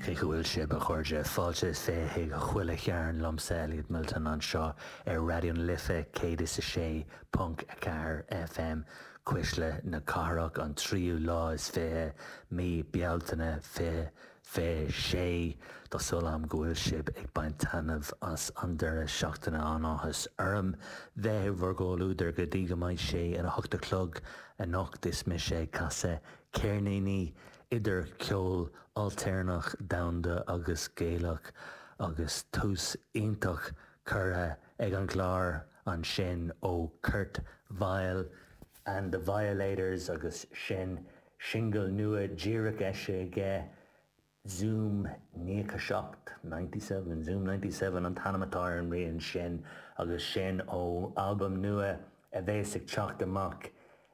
Cén chaoi a bhfuil sibh, a chairde? Fáilte is 20 chuig Chuile Chearn liomsa, Elliot Milton, anseo ar Raidió na Life 106.4 FM, Cuisle na Cathrach, an tríú lá is 20, mí Bealtaine 2026. Tá súil agam go bhfuil sibh ag baint taitneamh as an deireadh seachtaine. An-áthas orm bheith i bhur gcomhluadar go dtí go mbeidh sé ina hocht a chlog anocht. Is mise ag casadh ceirníní idir cheol ailtéarnach, domhanda agus Gaelach agus tús iontach curtha ag an gclár ansin ó Kurt Vile and the Violators agus sin singil nua díreach eisithe aige, Zoom 97, 97, Zoom 97 an t-ainm atá ar an rian sin agus sin ó albam nua a bheas ag teacht amach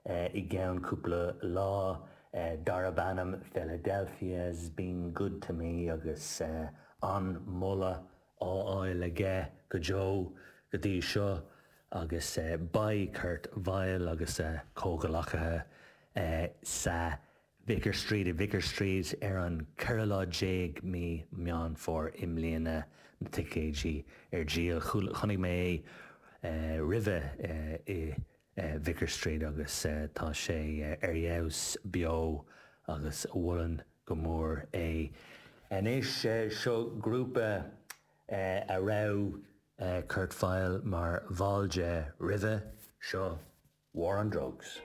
i gceann cúpla lá darb ainm Philadelphia's Been Good To Me agus an-mholadh á fháil aige go deo go dtí seo agus beidh Kurt Vile agus a chomhghleacaithe sa Vicar Street i Vicar Street ar an 14 lá mí Meán Fómhair i mbliana, na ticéidí ar díol. Chonaic mé é roimhe i Vicar Street agus tá sé ar fheabhas beo agus mholfainn go mór é. Anois seo grúpa a raibh Kurt Vile mar bhall de roimhe seo, War on Drugs.